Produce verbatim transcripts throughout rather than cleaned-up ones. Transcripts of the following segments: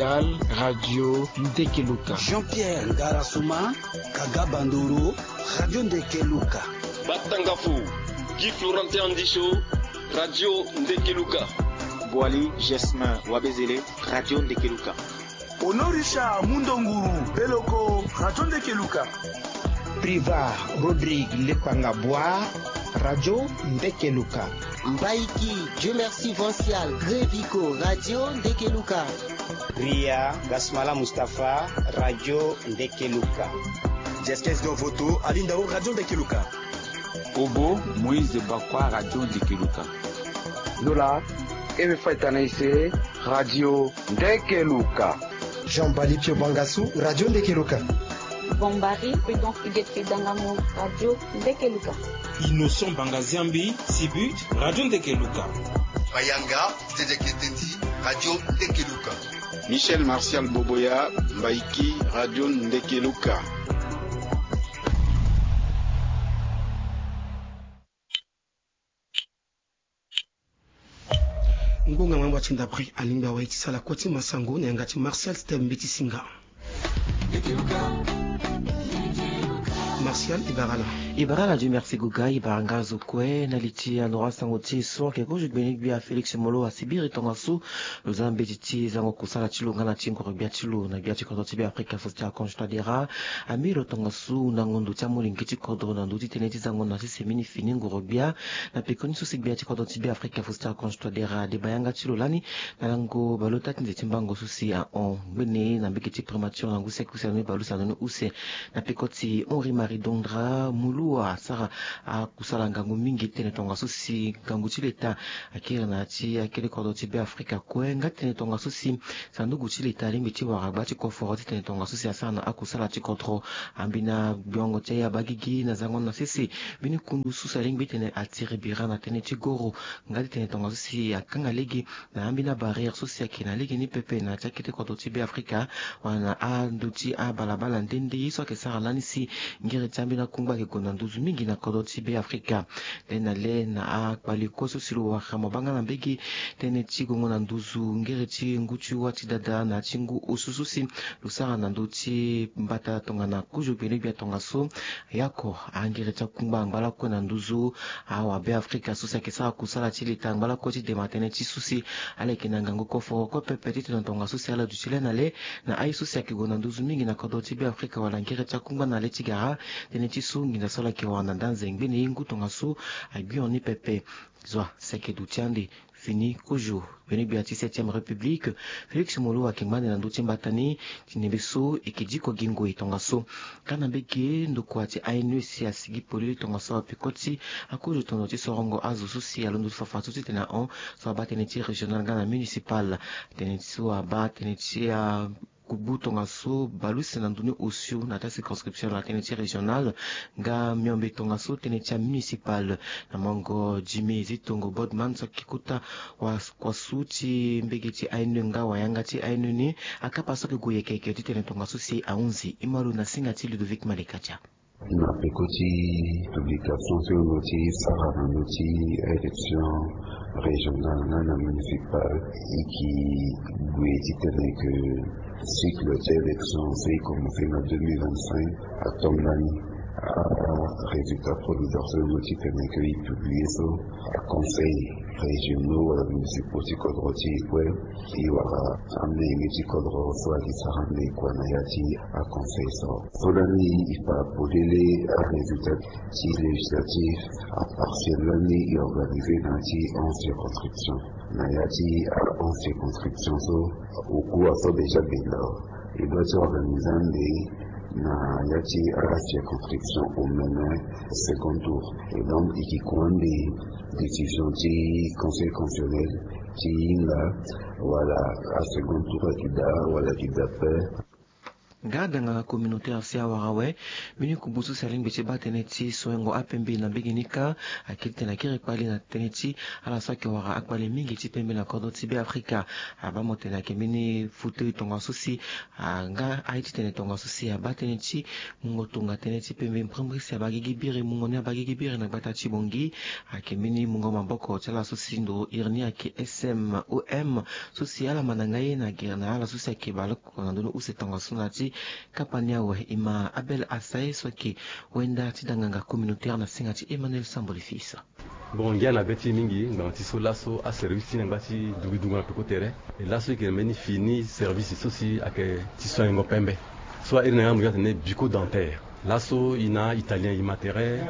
Mondial, Radio Ndekeluka. Jean-Pierre Ngarasuma, Kaga Bandoro, Radio Ndekeluka. Batangafo, Guy Florentin Andicho, Radio Ndekeluka. Boali Gesmin Wabezele, Radio Ndekeluka. Honorisha Mundonguru Beloko, Radio Ndekeluka. Priva Rodrigue Lepanga Bois, Radio Ndekeluka. Mbaiki Dieu Merci Vancial Grévico, Radio Ndekeluka. Ria Gasmala Mustapha, Radio Ndekeluka. Jestes Dovoto Alindao, Radio Ndekeluka. Obo Moïse Bakwa, Radio Ndekeluka. Lola Eve Faitanaise, Radio Ndekeluka. Jean Bali Pio Bangasu, Radio Ndekeluka. Bombari Prudence Huguette Dangamu, Radio Ndekeluka. Innocent Bangaziambi Sibut, Radio Ndekeluka. Bayanga Dédé Ketendi, Radio Ndekeluka. Michel Martial Boboya Mbaiki, Radio Ndekeluka. Ngonga mambo ya ti ndapre alingbi awa ye ti sala kue ti masango na yanga ti Martial Stem Mbeti Singa. Martial, e bara ala. E bara ala, Dieu merci Goga, e bara nga azo kue na li ti anora sango ti e so ayeke kozo gbene gbia Félix Molo asibiri tongaso lo za mbeti ti zango kusala ti lo nga na ti ngoro gbia ti lo na gbia ti kodro ti Be Afrika so ti akonso ti adera. Ambi lo tongaso na ngondo ti amolenge ti kodro na ndö ti tënë ti zango na sese mini fini ngoro gbia na pekoni so si gbia ti kodro ti Be Afrika so ti akonso ti adera ade bayanga ti lo lani na lango baleota ti nze ti mbango so si ahon ngbene na mbege ti primature na ngu siaki use na ni baleuse na ndoni use na peko ti Henri Marie Dondra Mulu asara akusala ngangu mingi tene tongaso si ngangu ti leta akiri na ya ti akete kodro ti Be Afrika kue nga tene tongaso si sanduku ti leta alingbi ti wara gba ti koforo ti tene tongaso si asara na akusala ti kodro. Ambi na gbiongo ti aye abagigi na zango na sese mbeni kundu so si alingbi tene atiri bira na tënë ti goro nga ti tene tongaso si akanga lege na ambeni abarrière so si ayeke na lege ni pepe na ya ti akete kodro ti Be Afrika wala na ando ti abalabala nde nde ye so ayeke sara lani si ngere ti ambeni akungba ayeke gue na nduzu mingi na kodro ti Be Afrika. Le na le na akpali kue so si lo wara mabanga na mbege tënë ti gongo na nduzu ngere ti ngu ti wa ti dada na ya ti ngu osu so si lo sara na ndö ti mbata tongana kozo gbene gbia tongaso. Yako angere ti akungba angba lakue na nduzu awabe Afrika so si ayeke sara kusala ti leta angba lakue ti dema tënë ti so si ala yeke na ngangu koforo kue pepe titene tongaso si ala duti le na le na aye so si ayeke gue na nduzu mingi na kodro ti Be Afrika wala ngere ti akungba na le ti gara tënë ti so nginza so ala yeke wara na nda nze ngbene ye ngu tongaso agbion ni pepe. Zo a si ayeke duti ande. Fini kozo gbene gbia ti septième république Félix Molo ayeke ngba ande na ndö ti mbata ni. Ti nembe so e yeke diko gi ngoi tongaso nga na mbege ndokua ti A N E si asigi polele tongaso apeko ti akozo tondo ti sorongo azo so si alondo ti fafa so titene ahon so abaa tënë ti régional nga na municipal. Tënë ti so abaa tënë ti a Kubu tongaso baleuse na ndoni osio na ya ti acirconscription na tënë ti régional nga miombe tongaso tënë ti amunicipal. Na mongo Jimmy Zitongo Bodman so ayeke kota wakuasu ti mbege ti A N E nga wayanga ti A N E ni akapa so ayeke gue yeke yeke titene tongaso si ahunzi. Ima lo na singa ti Ludovic Malekatia. Na peko ti publication so e lo ti sara na ndö ti élection régionale nga na municipale e yeke gue titene ke cycle ti élection so e commence na deux mille vingt-cinq atonda ni. Arésultat provisoire so e lo titene ke e publie so, aconseil régionaux wala municipaux ti kodro ti e kue e wara amenge ti kodro so ayeke sara ande kua na ya ti aconseil so. So lani e fa polele arésultat ti législatif apartiel lani e organisé na ya ti onze circonscription. Na ya ti a onze circonscription so, okuwa so déjà benda e doit ti organisé ande na ya ti acirconscription omene second tour. Et donc e yeke kua ande décision ti conseil constitutionnel ti hinga wala asecond tour ayeke daa wala ayeke daa pe. Nga danganga communautaire si awara awe. Mbeni kubu so si alingbi ti baa tënë ti soengo apembe na mbege ni kâ. Akiri titene akiri kpali na tënë ti ala so ayeke wara akpali mingi ti pembe na kodro ti Beafrika. Abaa mo tene ayeke mbeni fauteuil tongaso si, nga aye titene tongaso si abaa tënë ti mungo tonga tënë ti pembe mbrimbri si abaa gigi biri, mungo ni abaa gigi biri na gbata ti Bangui. Ayeke mbeni mungo maboko ti ala so si nduru iri ni ayeke S M O M, so si ala ma na ngai na gere na ala so si ayeke baleoko na ndoni use tongaso na ya ti kapa ni awe. E ma Abel Assae so ayeke wenda ti danganga communautaire na singa ti Emmanuel Sambole Fils. Bon, ngia na be ti e mingi ngbanga ti so laso aservice ti e na ngba ti dugidungo na peko tere. E laso e yeke na mbeni fini service so si ayeke ti soignango pembe. So airi na yanga mo yanga atene bucco dentaire. Laso e na italien e ma tere,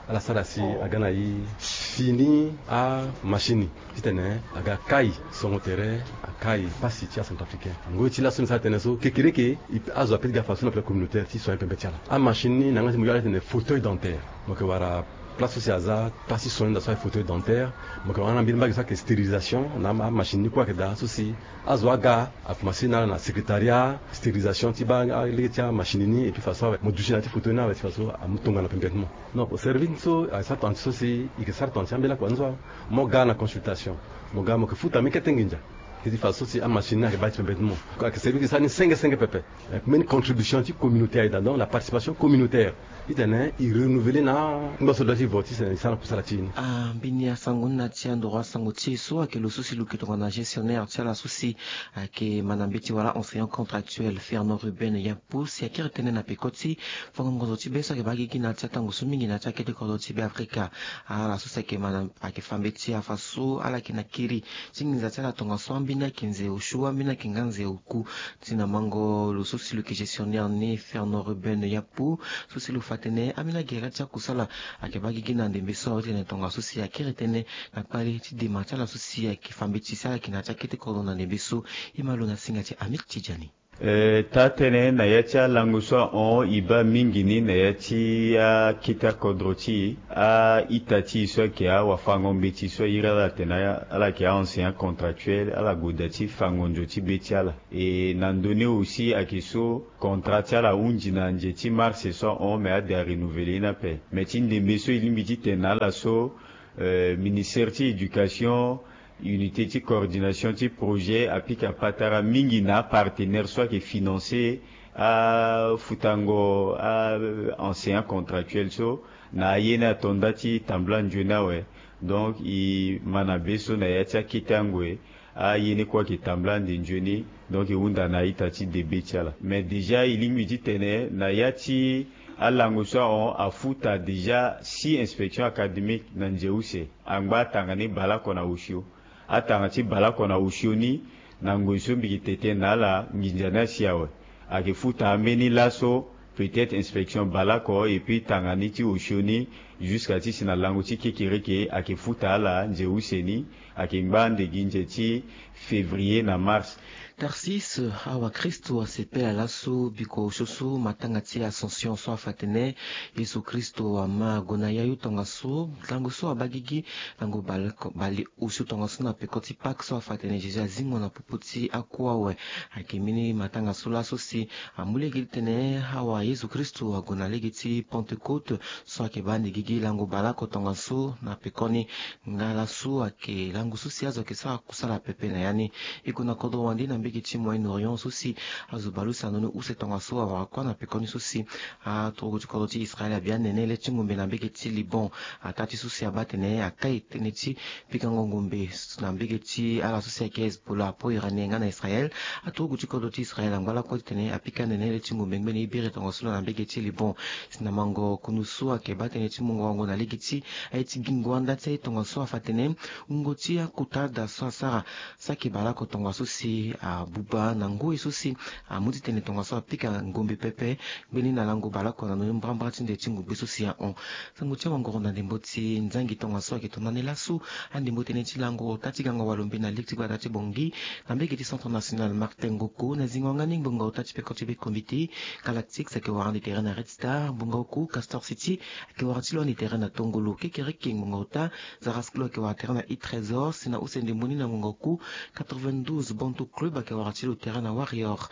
ala sara si aga na e fini amachine titene aga kai songo tere, akai pasi ti acentrafricain. Ngoi ti laso ni sara tënë so kekereke, azo ape ti ga façon na pele communautaire ti soigner pembe ti ala. Amachine ni na yanga ti mo yanga atene fauteuil dentaire. Mo yeke wara place so si aza place ti soigner na so aye fauteuil dentaire. Mo yeke wara na mbeni mbage so ayeke stérilisation na amachine ni kue ayeke daa so si azo aga akomanse na ala na secrétariat stérilisation ti baa lege ti amachine ni, et puis façon awe mo duti na ya ti fauteuil ni awe ti façon amu tongana pembe ti mo. Non, service ni so ayeke sara tongana ti so si e yeke sara tongana ti ambeni lakua ni so awe. Mo ga na consultation, mo ga mo yeke futa mbeni kete nginza. Ti façon so si amachine ni ayeke baa ti pembe ti mo. Ayeke service sara ni senge senge pepe. Mbeni contribution ti communauté aye daa, donc la participation communautaire. Titene e renouveler na ngba so dua ti vo titene e sara na kusala ti e ni. Ah, mbeni asango ni na ya ti andoro asango ti e so ayeke lo so si lo yeke tongana gestionnaire ti ala so si ayeke ma na mbeti wala enseignant contractuel Fernand Ruben Yampu si akiri tënë na peko ti fango ngonzo ti be so ayeke baa gigi na ya ti atango so mingi na ya ti akete kodro ti Beafrika. Ala so si ayeke ma na ayeke fa mbeti afa so ala yeke na kiri ti nginza ti ala tongaso ambeni ayeke nze osio, ambeni ayeke nga nze oku. Ti na mango lo so si lo yeke gestionnaire ni Fernand Ruben Yampu, so si lo fa tënë ambeni agere ti akusala ayeke baa gigi na ndembe so awe titene tongaso si akiri tënë na kpale ti dema ti ala so si ayeke fa mbeti si ala yeke na ya ti akete kodro na ndembe so. E ma lo na singa ti Amid Tidjani. Eh, taa-tënë na ya ti alango so ahon e baa mingi ni na ya ti akete akodro ti e, a-ita ti e so ayeke awafango-mbeti so airi ala atene ala yeke a-enseignant contractuel, ala gue daa ti fango nzo ti be ti ala. E na ndö ni aussi ayeke so contrat ti ala ahunzi na nze ti mars so ahon, me ade arenouveler ni ape. Me ti ndembe so e lingbi titene na ala so, eh, ministère ti éducation, unité ti coordination ti projet apika patara mingi na apartenaire so ayeke financer afutango a-enseignant contractuel so na aye ni ato nda ti tambula nzoni awe. Donc e ma na be so na ya ti akete angoi, aye ni kue ayeke tambula ande nzoni. Donc e hunda na a-ita ti debe ti ala. Mais déjà e lingbi titene na ya ti alango so ahon afuta déjà six inspections académiques na nze use. Angba atanga ni baleoko na osio. Atanga ti baleoko na osio ni, na ngoi so mbi yeke tene na ala nginza ni asi awe. Ayeke futa ambeni laso, peut-être inspection baleoko, et puis tanga ni ti osio ni jusqu'à ti si na lango ti kekereke ayeke futa ala nze use ni. Ayeke ngba ande gi nze ti février na mars. Tarsis, awa Kristo asepela laso biko osio so matanga ti Ascension so afa tene Yezu Kristo ama gue na yayu tongaso, lango so abaa gigi lango bale, bale osio tongaso na peko ti Pâques so afa tene Jésus azingo na popo ti aku awe. Ayeke mbeni matanga so laso si amu lege titene awa Yezu Kristo ague na lege ti Pentecôte so ayeke baa ande gigi lango baleoko tongaso na pekoni. Nga laso ayeke lango so si azo ayeke sara kusala pepe na ya ni. E gue na kodro wande na mbege ti Moyen-Orient so si azo baleuse na ndoni use tongaso awara kue na pekoni so si aturugu ti kodro ti Israël abia nene le ti ngombe na mbege ti Liban. Ataa ti so si abaa tene akai tënë ti pikango ngombe na mbege ti ala so si ayeke Hezbollah apo iranien nga na Israël. Aturugu ti kodro ti Israël angba lakue titene apika nene le ti ngombe ngbene e biri tongaso lo na mbege ti Liban. Si na mango kundu so ayeke baa tënë ti mungo wango na lege ti aye ti gingo anda ti aye tongaso afa tene wungo ti akota da so asara saki baleoko tongaso si abuba na ngoi so si amu titene tongaso apika ngombe pepe. Ngbeni na lango baleoko na ndoni mbrambra ti nde ti ngogbe so si ahon. Sango ti awangoro na ndembo ti nzangi tongaso ayeke tongana ni laso. Andembo tënë ti lango ota ti gango walombe na lege ti gbata ti Bangui na mbege ti Centre National Martin Ngoko na zingo nga ni ngbonga ota ti peko ti be comité Galactique ayeke wara ande tere na Red Star. Ngbonga oku Castor City ayeke wara ti lo Ni terrain na tongolo kekereke ngonga ota. Zara Sklo ayeke wara terrain na i trésor si na use ndembo ni na ngonga oku. Quatre-vingt-douze Bantu Club ayeke wara ti lo terrain na Warriors.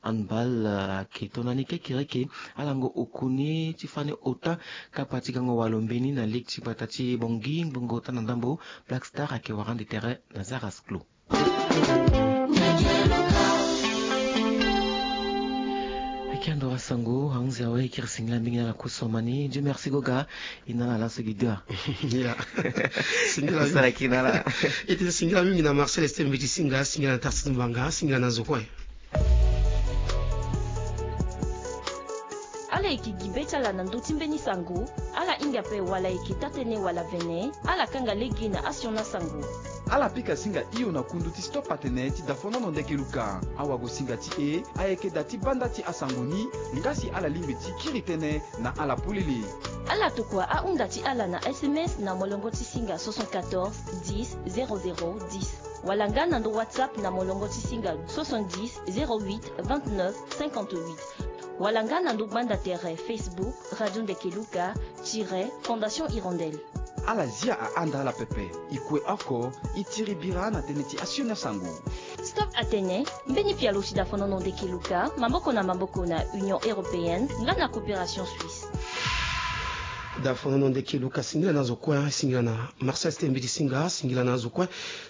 Handball ayeke to na ni kekereke. Alango oku ni ti fani ota. Kapa ti gango walo mbeni na ligue ti gbata ti bongi ngonga ota na ndambo. Black Star ayeke wara ande terrain na Zara Sklo. Eke ando asango ahunzi awe ekiri singila mingi na la kusomani. Dieu merci goga. Inala la sogidua. Ya. Singila mingi. Sala kinala. Ete singila mingi na Marcel Estembe ti singa, singila na Tarsis Mbanga, singila na Zokwe. Ala yeke gi be ti ala na ndö ti mbeni sango. Ala hinga ape wala yeke taa-tënë wala vene. Ala kanga lege na asioni asango. Ala pika singa hio na kundu ti stop atene ti dafonono ndeke luka. Awagosinga ti e ayeke da ti banda ti asango ni. Nga si ala lingbi ti kiri tënë na ala polele. Ala tokua ahunda ti ala na S M S na molongo ti singa soixante-quatorze dix zéro zéro dix. Wala nga na ndo WhatsApp na molongo ti singa soixante-dix zéro huit vingt-neuf cinquante-huit. Wala nga na ndo gbanda tere Facebook Radio Ndeke Luka tire Fondation Hirondelle. Ala zia ahanda ala pepe. E kue oko, e tiri bira na tënë ti asioni asango. Stop atene, mbeni pialo ti dafonono ndeke luka, maboko na maboko na Union Européenne, nga na Coopération Suisse. Dafonono ndeke luka singila na azo kue, singila na Marcel Stembi ti singa, singila na azo kue.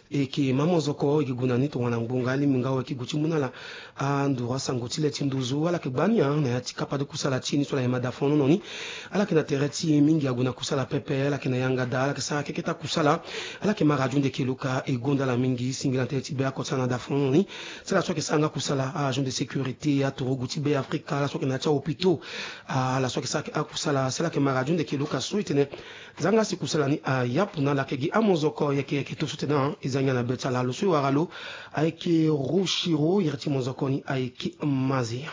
E yeke ma mozoko, e yeke gue na ni tongana ngbonga alingbi nga awe e yeke gue ti mu na ala anduru asango ti le ti nduzu. Ala yeke gbani na ya ti kapa ti kusala ti e ni so ala yema dafonono ni. Ala yeke na tere ti e mingi ague na kusala pepe, ala yeke na yanga daa, ala yeke sara keke ti akusala. Ala yeke ma radio ndeke luka, e gonda ala mingi, singila na tere ti be oko ti ala na dafonono ni. Si ala so ayeke sara nga kusala, a agent de sécurité, aturugu ti be Afrika, ala so ayeke na ya ti ahôpitaux, ala so ayeke sara akusala, si ala yeke ma radio ndeke luka so e tene. Zanga si kusala ni ayapu na ala, yeke gi amozoko yeke yeke to so tene e za ngia na be ti ala. Lo so e wara lo ayeke Rochiro, iri ti mozoko ni ayeke Mazia.